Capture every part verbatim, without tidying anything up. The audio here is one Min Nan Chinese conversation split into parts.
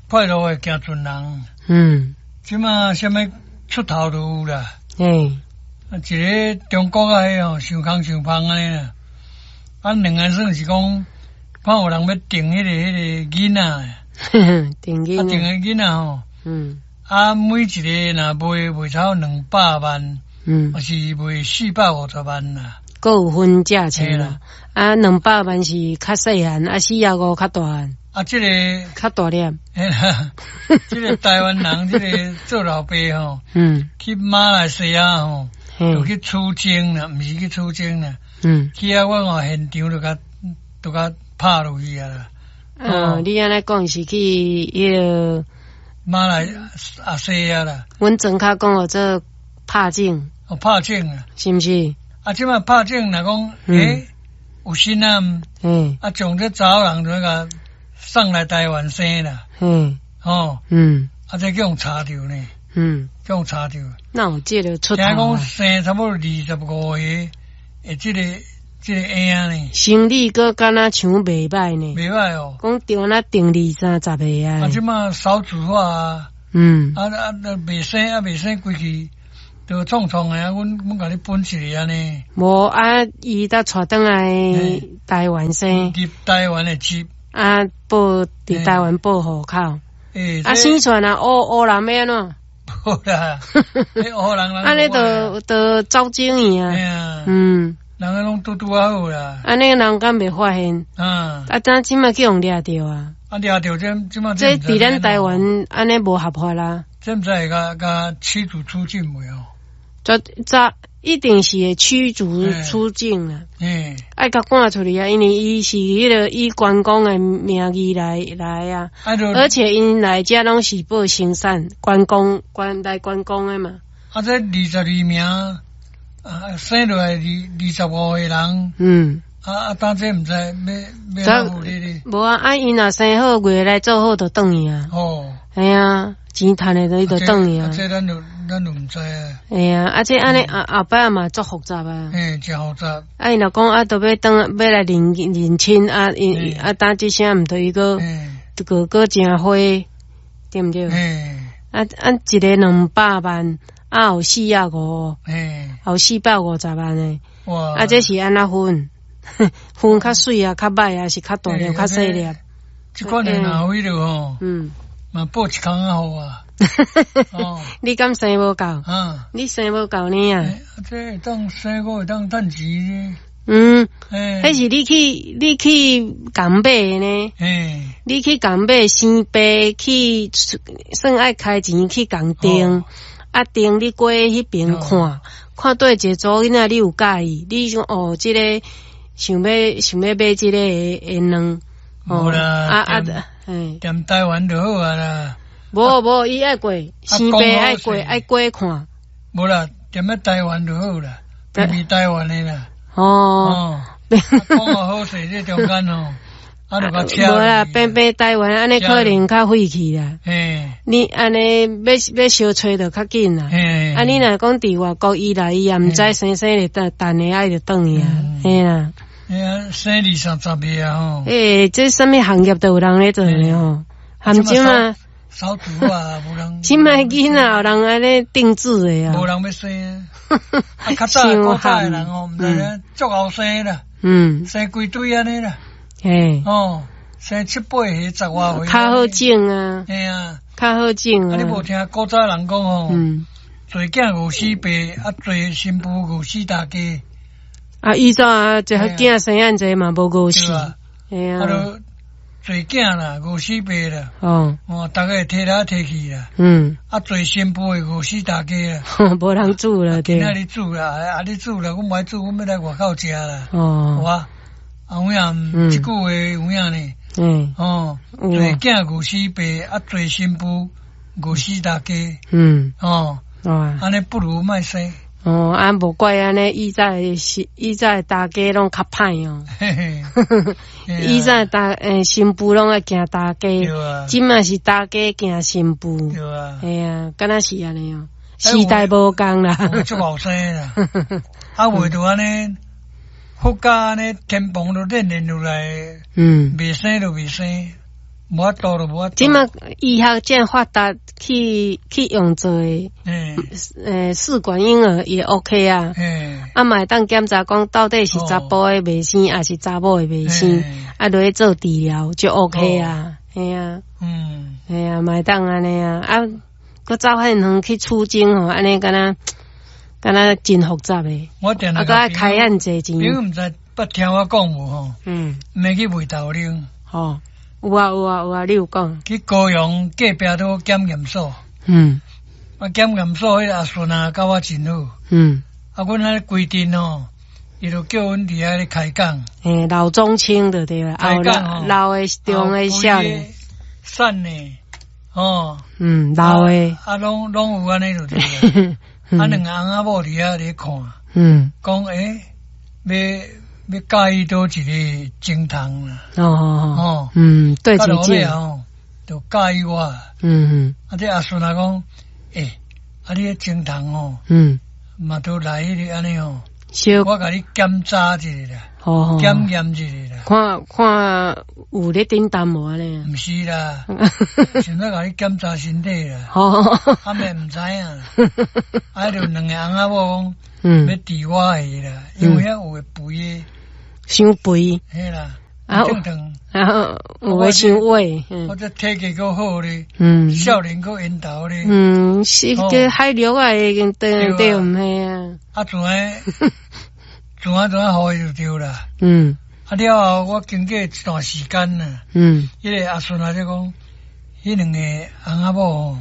快樂的行船人。嗯。這馬啥物出頭都有啦。嘿。啊，一个中國啊，彼吼，傷空傷芳按呢啦。啊，兩个算是講，看有人欲訂彼个彼个囡仔。訂囡仔。啊，訂个囡仔吼。嗯。啊，每一个若賣賣超兩百萬。嗯。抑是賣四百五十萬啦。閣有分價錢啦。啊，兩百萬是較細漢，啊，四十五較大漢。啊，這個較大粒。嘿啦，這個台灣人，這個做老爸吼，嗯，去馬來西亞吼，就去取經啦，毋是去取經啦。嗯，去遐我看現場就共就共拍落去啊啦。哦，你按呢講是去彼个馬來西亞啦。阮莊跤講號做拍種。哦，拍種啊。是毋是？啊，這擺拍種若講，欸，有心啊，嗯，啊，將這查某人就共送來台灣生啦。嗯，哦，嗯，啊，這叫予查著呢。嗯，叫予查著。哪有這个出頭？聽講生差不多二十五個，會這个這个嬰仔呢。生理閣敢若像袂䆀呢。袂䆀哦。講著若定二三十個啊。啊，這馬少子化啊。嗯。啊啊，袂生啊，袂生規氣。就創創的啊，阮阮共你分一个按呢。無啊，伊才帶轉來台灣生。入台灣的籍。啊，報佇台灣報戶口。欸，啊，生出來若烏烏人欲按怎？無啦，彼烏人按呢就就走精去啊。嗯。人個攏拄拄仔好啦。按呢人敢袂發現？啊。啊，怎這馬去予掠著啊？啊，掠著這這馬。這佇咱台灣按呢無合法啦。這毋知會共共驅逐出境袂哦？這這一定是會驅逐出境啦。嗯。愛共趕出去啊，因為伊是彼个以觀光的名義來來啊。而且𪜶來遮攏是報生產觀光觀來觀光的嘛。啊，這二十二名啊，生落來二二十五個人。嗯。啊啊，當這毋知欲欲按怎處理咧？無啊，啊，𪜶若生好月來做好就轉去啊。哦。嘿啊，錢趁的就伊就轉去啊。這咱就咱就毋知啊。嘿啊，啊這按呢後後擺嘛足複雜啊。嘿，誠複雜。啊，𪜶若講啊，都欲轉欲來認認親啊，𪜶啊，當這聲毋對伊閣閣閣誠花，對毋對？啊啊，一个兩百萬，啊有四十五，有四百五十萬的。哇！啊，這是按怎分？分較媠啊，較䆀啊，是較大粒，較細粒。這款的若有彼落吼，嗯，嘛報一空仔予我。哦，你敢生無夠？啊，你生無夠呢啊？這會當生閣會當趁錢。嗯，彼是你去你去共買的呢？你去共買生爸去算愛開錢去共訂，啊訂你過彼爿看，看佗一个查某囡仔你有佮意，你想哦，這个想欲想欲買這个的卵，無啦，啊啊，嘿，踮台灣就好啊啦。無無，伊愛過生爸愛過愛過看。無啦，踮咧台灣就好啦，偏偏台灣的啦。哦，講好勢，這中間吼，啊就共車。無啦，偏偏台灣按呢可能較費氣啦。嘿，你按呢欲欲相揣就較緊啦。嘿，啊，你若講佇外國，伊來伊也毋知生生咧等等下愛就轉去啊，嘿啦。嘿啊，生二三十個啊吼。欸，這啥物行業都有人咧做咧吼，含這馬。少子啊，無人。這馬囡仔有人按呢訂製的啊。無人欲生啊！啊，較早古早的人吼，毋知影足𠢕生啦。嗯。生規堆按呢啦。嘿。哦，生七八歲、十外歲。較好種啊。嘿啊。較好種啊。啊，你無聽古早人講吼？嗯。做囝餓死爸，啊，做新婦餓死大家。啊，以前啊，這囝生按濟嘛無餓死。嘿啊。啊，就做囝啦，餓死爸啦。哦。哦，逐家會提來提去啦。嗯。啊，做新婦會餓死大家啦。無人煮啦，對。今仔日煮啦，啊你煮啦，阮無愛煮，阮欲來外口食啦。哦。有啊，啊有影，這句話有影呢。嗯。哦，做囝餓死爸，啊做新婦餓死大家。嗯。哦。哦。按呢不如莫生。哦，啊，無怪按呢，以前是以前大家攏較歹哦。嘿嘿。以前大欸新婦攏愛驚大家，這馬是大家驚新婦。對啊。嘿啊，敢若是按呢哦，時代無仝啦。足後生啦，啊，袂就按呢，佛教按呢天蓬都練練落來，嗯，袂生就袂生，無法度就無法度。這馬醫學遮發達，去去用做的，欸，呃，試管嬰兒也 OK 啊。欸，啊嘛會當檢查講到底是查埔的袂生，抑是查某的袂生，啊，落去做治療就 OK 啊。嘿啊，嗯，嘿啊，嘛會當按呢啊，啊，閣走遐遠去取精吼，按呢敢若敢若真複雜的。我定啊，閣愛開按濟錢。你毋知捌聽我講無吼？嗯，毋免去賣豆奶。吼，有啊有啊有啊，你有講。去高雄隔壁都檢驗所。嗯。啊，檢驗所彼个阿孫啊，佮我真好。嗯。啊，阮彼規陣吼，伊就叫阮佇遐咧開講。欸，老中青就對啦，開講吼，老的、中的、少年。瘦的，吼。嗯，老的。啊，攏攏有按呢就對啦。啊，兩个翁仔某佇遐咧看。嗯。講欸，欲欲佮意佗一个精蟲啦。哦哦哦。嗯，對對對。吼，就佮意我。嗯嗯。啊，這阿孫仔講，欸，啊，你彼精蟲吼，嗯，嘛都來彼个按呢吼，我共你檢查一下啦，檢驗一下啦，看看有咧頂擔無按呢？毋是啦，想欲共你檢查身體啦，啊嘛毋知影，啊就兩個翁仔某講，欲治我的啦，因為遐有的肥的，傷肥，嘿啦。啊，啊，有的傷矮，我這體格閣好咧，嗯，少年閣緣投咧，嗯，是個海陸啊，已經對對毋係啊。啊，怎啊，怎啊怎啊，予伊就對啦。嗯。啊了後，我經過一段時間啦，嗯，彼个阿孫仔就講，彼兩个翁仔某吼，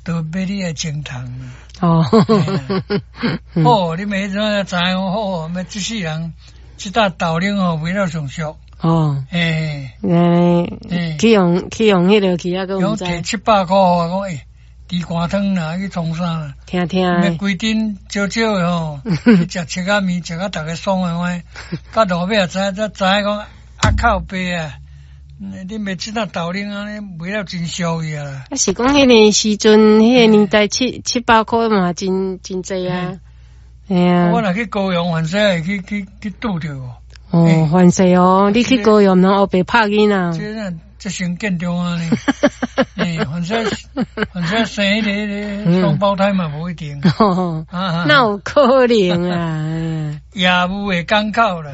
都欲你的精蟲啦。哦。好，你袂怎知影好，欲這世人，這搭豆奶吼賣了上俗。哦，欸，欸，去用去用彼个去啊，閣毋知。提七百箍，我講欸，豬肝湯啦，去創啥啦？聽聽。欲規陣少少的吼，去食七仔麵，食甲逐家爽的話，到路尾也知影，才知影講啊靠爸啊，你袂這搭豆奶按呢賣了真俗去啊啦。啊是講彼个時陣，彼个年代七七百箍嘛真真濟啊。嘿啊。我若去高雄，凡勢會去去去拄著。哦，凡勢哦，你去高雄攏烏白拍囡仔。這咱這先見中啊呢。欸，凡勢凡勢生彼个彼个雙胞胎嘛，無一定。哪有可能啊？業務的港口啦。